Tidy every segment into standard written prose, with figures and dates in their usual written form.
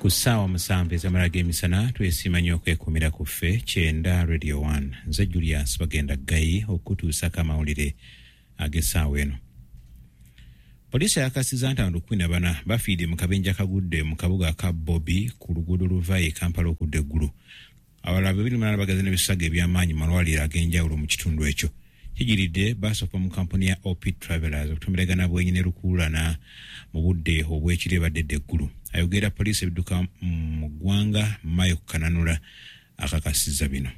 Ku ssaawa 7 ez'amala g'emisana twesiima nnyo okwekumira ku ffe 90 Radio 1. Nze Julius Bagenda Ggayi okutuusako amawulire ag'essaawa eno. Poliisi yakakasizza nti abantu 14 bafiiridde mu kabenje akagudde mu kabuga aka Bobi ku luguudo oluva e Kampala okudda Eggulu. Abalala 28 bagaze n'ebisago eby'amaanyi mu malwaliro ag'enjawulo mu kitundu ekyo. Kijiridde baasi okuva mu kampuni ya OP Travelers okutomeragana bwenyi ne lukuulana mu budde obw'ekiro ebadde edda Eggulu. Ayogerera poliisi ebidduka mu ggwanga Mayo Kananura akakasizza bino.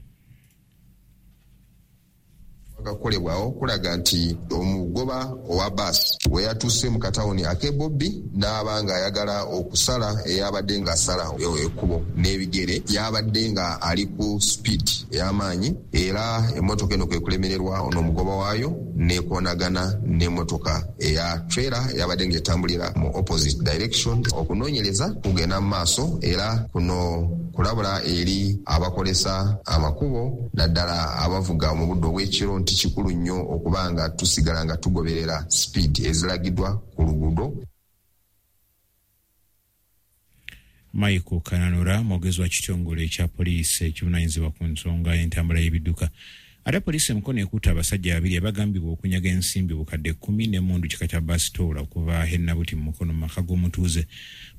Akakolebwawo kulaga nti omugoba owa baasi we yatuuse mu katawuni ak'e Bobbi n'aba ng'ayagala okusala eyabadde ng'asala ekkubo n'ebigere, yabadde nga ali ku speed ey'amaanyi era emmotoka eno kwe kulemererwa ono omugoba waayo n'ekoonagana n'emmotoka eya trailer eyabadde ng'etambulira mu opposite direction. Okunoonyereza kugenda mu maaso era kuno kulabula eri abakozesa amakubo naddala abavuga mu budde obw'ekiro nti kikulu nnyo okuba nga tusigala nga tugoberera speed ezilagiddwa ku luguudo. Michael Kananura mwogezi wa kitongole ekya poliisi ekivunaanyizibwa ku nsonga y'entambula y'ebidduka. Ate poliisi e Mukono ekutte abasajja babiri abagambibwa okunyaga ensimbi bukadde 10 n'emmundu kika kya basitoola okuva e Nabuti mu Mukono mu maka g'omutuuze.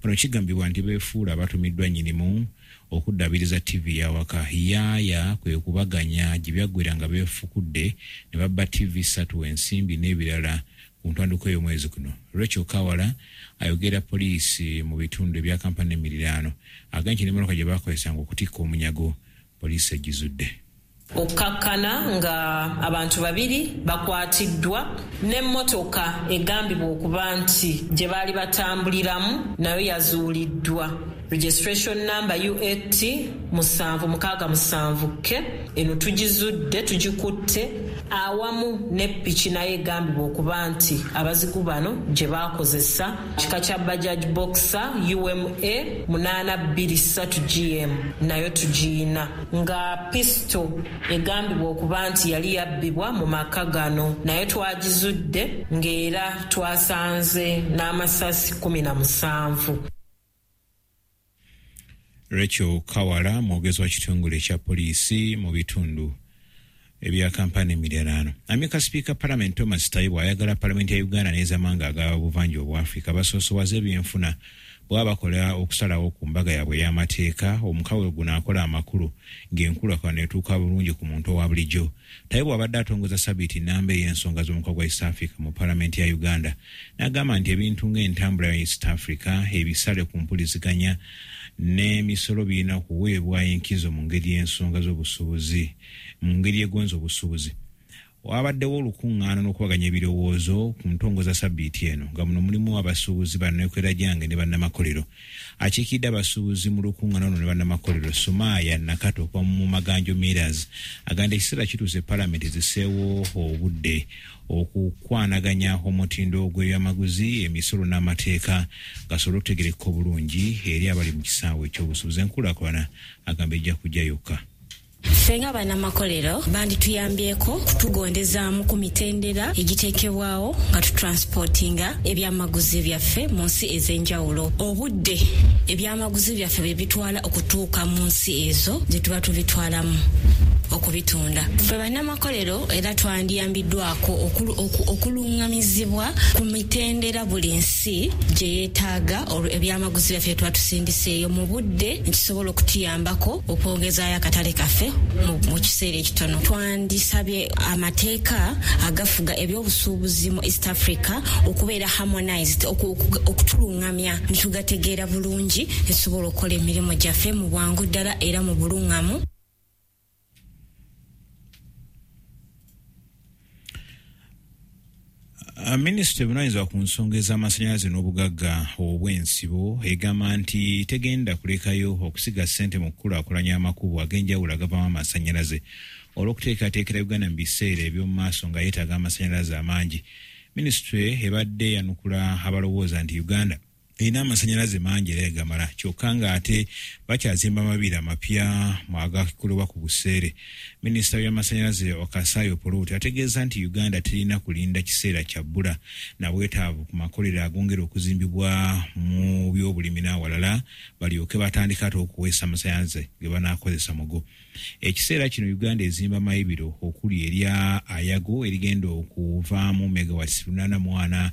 Bano kigambibwa nti beefuula abatumiddwa nnyinimu okuddaabiriza ttivi y'awaka. Yaaya kwe kubaganya gye byaggwera nga beefukudde ne babba ttivi 3, ensimbi n'ebirala ku ntandikwa y'omwezi guno. Rachel Kawala ayogera poliisi mu bitundu ebya Kampala n'emiriraano agambye nti n'emmotoka gye baakozesanga okutikka omunyago poliisi egizudde. Okkakkana nga abantu babiri bakwatiddwa n'emmotoka egambibwa okuba nti gye baali batambuliramu nayo yazuuliddwa. Registration number UAT 767K eno tugizudde, tugikutte awamu ne piki nayo egambibwa okuba nti abazigu bano gye baakozesa kika kya Bajaj Boxer UMA 823 GM nayo tugiyina, nga pistol egambibwa okuba nti yali yabbibwa mu maka gano nayo twagizudde ng'era twasanze n'amasasi 17. Rachel Kawala mwogezi wa kitongole ekya poliisi mu bitundu ebya Kampala n'emiriraano. Amyuka sipiika Palamenti Thomas Tayebwa ayagala Palamenti ya Uganda n'ezamawanga aga buvanjuba obwa Afrika basoosowaze ebyenfuna bw'aba bakola okusalawo ku mbaga yaabwe ey'amateeka. Omukago guno akola amakulu ng'enkulaakulana etuuka bulungi ku muntu owa bulijjo. Tayebwa abadde atongoza sabiiti nnamba ey'ensonga z'omukago gwa East Africa mu Palamenti ya Uganda n'agamba nti ebintu ng'entambula ya East Africa, ebisale ku mpuliziganya n'emisolo birina okuweebwa enkizo mu ngeri y'ensonga z'obusuubuzi mu ngeri egonza obusuubuzi. Wabaddewo olukuŋŋaana n'okubaganya ebirowoozo ku ntongoza sabbiiti eno nga muno mulimu abasuubuzi, banneekoleragyange ne bannamakolero. Akiikiridde abasuubuzi mu lukuŋŋaana luno ne bannamakolero, Sumaaya Nakato okuva mu Maganjo Millers, agamba nti ekiseera kituuse Palamenti ziseewo obudde okukwanaganya omutindo gw'ebyamaguzi, emisolo n'amateeka gasobole okutegeerekeka obulungi eri abali mu kisaawe eky'obusuubuzi. Enkulaakulana agamba ejja kujja yokka. Ffe nga bannamakolero bandituyambyeko kutugondezaamu ku mitendera egiteekebwawo nga tutransportinga ebyamaguzi byaffe mu nsi ez'enjawulo. Obudde ebyamaguzi byaffe bwe bitwala okutuuka mu nsi ezo gye tuba tubitwalamu okubitunda. Ffe bannamakolero era twandiyambiddwako okuluŋŋamizibwa ku mitendera buli nsi gye yeetaaga ebyamaguzi byaffe tuba tusindiseeyo mu budde nkisobola okutuyambako okwongezaayo akatale kaffe mu kiseera ekitono. Twandisabye amateeka agafuga ebyobusuubuzi mu East Africa okubeera harmonized, okutuluŋŋamya netugategeera bulungi netusobola okukola emirimu gyaffe mu bwangu ddala era mu buluŋŋamu. Minisitule evunaanyizibwa ku nsonga ez'amasannyalaze n'obugagga obw'ensibo egamba nti tegenda kulekayo okusiga ssente mu kukulaakulanya amakubo ag'enjawulo agavaamu amasannyalaze olw'okuteekateekera Uganda mu biseera eby'omu maaso nga yeetaaga amasannyalaze amangi. Minisitule ebadde eyanukula abalowooza nti Uganda erina amasannyalaze mangi era egamala, kyokka ng'ate bakyazimba amabiri amapya agakolebwa ku buseere. Minisita w'amasannyalaze Okasayi Opolot ategeeza nti Uganda terina kulinda kiseera kya bbula na bwetaavu ku makolero agongera okuzimbibwa mu byobulimi n'awalala balyoke batandika ate okuweesa amasannyalaze ge banaakozesa mugo. Ekiseera kino Uganda ezimba mayibiro okuli erya Ayago erigenda okuvaamu megawatts 84,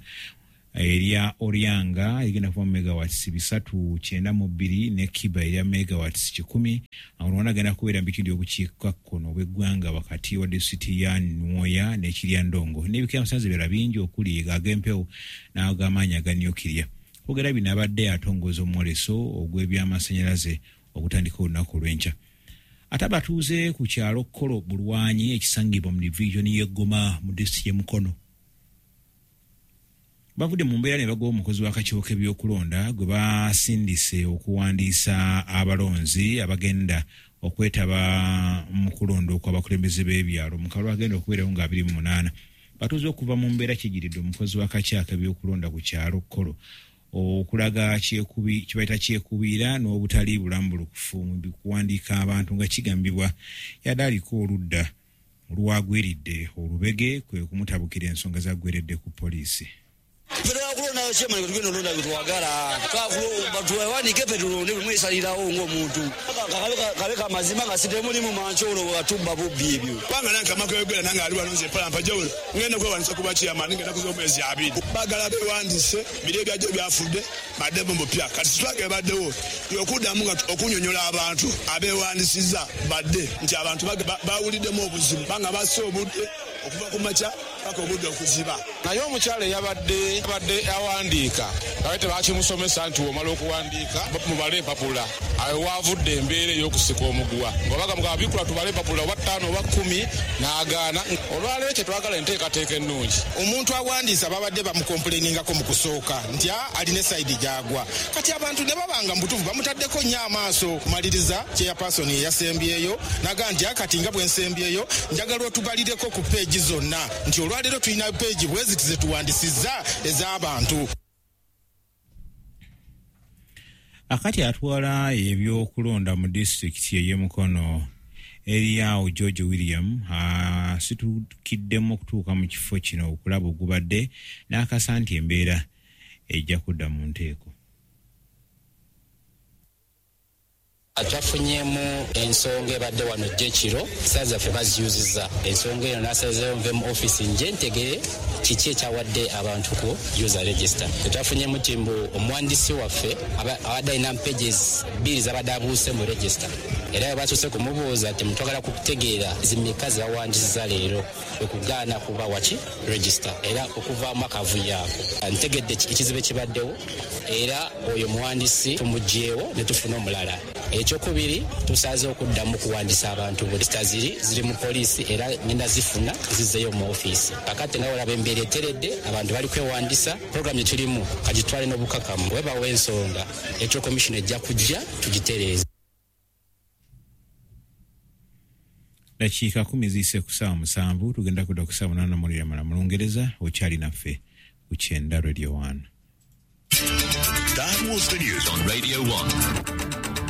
erya Oryanga erigenda kuvaamu megawatts 392 ne Kiba erya megawatts 100. Awo agenda kubeera mu bitundu by'obukiikakkono obw'eggwanga wakati wa disitulikiti ya Nwoya n'e Kiryandongo n'ebika by'amasannyalaze ebirala bingi okuli ag'empewo n'ag'amaanyi aga nukiriya. Okwogera bino abadde atongoza omwoleso ogw'ebyamasannyalaze ogutandika olunaku olw'enkya. Ate abatuuze ku kyalo Kolo Bulwanyi ekisangibwa mu divizoni y'e Goma mu disitulikiti y'e Mukono bavudde mu mbeera ne bagoba omukozi w'akakiiko k'ebyokulonda gwe basindise okuwandiisa abalonzi abagenda okwetaba mu kulonda okw'abakulembeze b'ebyalo mu kalulu agenda okubeerawo nga 28. Batuuze okuva mu mbeera kigiridde omukozi w'akakiiko k'ebyokulonda ku kyalo Kolo okulaga kibayita kyekubiira n'obutali bulambulukufu mu kuwandiika abantu nga kigambibwa yadde aliko oludda olwagwiridde olubege kwe kumutabukira ensonga zaggweredde ku poliisi. Ffe chairman tugenda olonda bye twagala, batuwandiike ffe tulonde bwe mwesalirawo ng'omuntu kabe kamazima nga sitemulimu mankyolo bwe batubba bubbi ebyo. Kubanga nange kamakwegera nange ali wano nze Palampa jawulo ngenda kwewandiisa kuba chairman ngenda kuza omwezi 2. Baagala bewandiise biri ebyajjo byafudde baddemu bupya. Kati sitwage baddewo yokuddamu nga okunyonyola abantu abeewandisizza badde nti abantu bawuliddemu obuzibu banga basse obudde okuva ku makya paka obudde okuziba. Naye omukyala eyabadde awandiika abe tebakimusomesa nti womala okuwandiika mubale empapula, awo waavudde embeera ey'okusika omuguwa ng'obaga mugaba bikula tubale empapula oba 5 oba 10 n'agaana. Olwaleero kye twagala enteekateeka ennungi. Omuntu awandiisa babadde bamukompuleningako mu kusooka nti alina esayidi gy'agwa, kati abantu ne babanga mu butuufu bamutaddeko nnyo amaaso. Kumaliriza chairperson eyasembyeyo n'agamba nti kati nga bwe nsembyeyo njagala otubalireko ku peegi zonna nti olwaleero tulina peegi bwe ziti ze tuwandisizza ez'abantu. Akati atwala ebyokulonda mu disitulikiti ey'e Mukono Eriawo George William asitukiddemu okutuuka mu kifo kino okulaba ogubadde n'akasa nti embeera ejja kudda mu nteeko. Twafunyemu ensonga ebadde wano jjekiro, saa zaffe baziyuziza ensonga eno nasazeewo nve mu ofiisi nje ntegere kiki ekyawadde abantu ku user register. Twafunyemu nti mbu omuwandiisi waffe abadde alina pages 2 zabadde abuuse mu register, era bwe batuuse kumubuuza nti mutwagala kutegeera zimeka ze bawandiisiza leero okugaana kuba waki register, era okuvaamu akavuyo ako. Ntegedde ekizibu ekibaddewo era oyo muwandiisi tumuggyeewo ne tufuna omulala. Ekyokubiri tusaze okuddamu okuwandiisa abantu register ziri mu poliisi era ngenda zifuna zizzeeyo mu ofiisi. Kakati nga olaba embeera eteredde, abantu bali kwewandisa, program gye tulimu kagitwale n'obukakamu, webawo ensonga Electoral Commission ejja kujja tugitereeze. Dakiika 10 ziyise ku ssaawa 7, tugenda kudda ku ssaawa 8 mulira mala mu Lungereza. Okyali naffe ku Kyenda Radio 1. That was the news on Radio 1.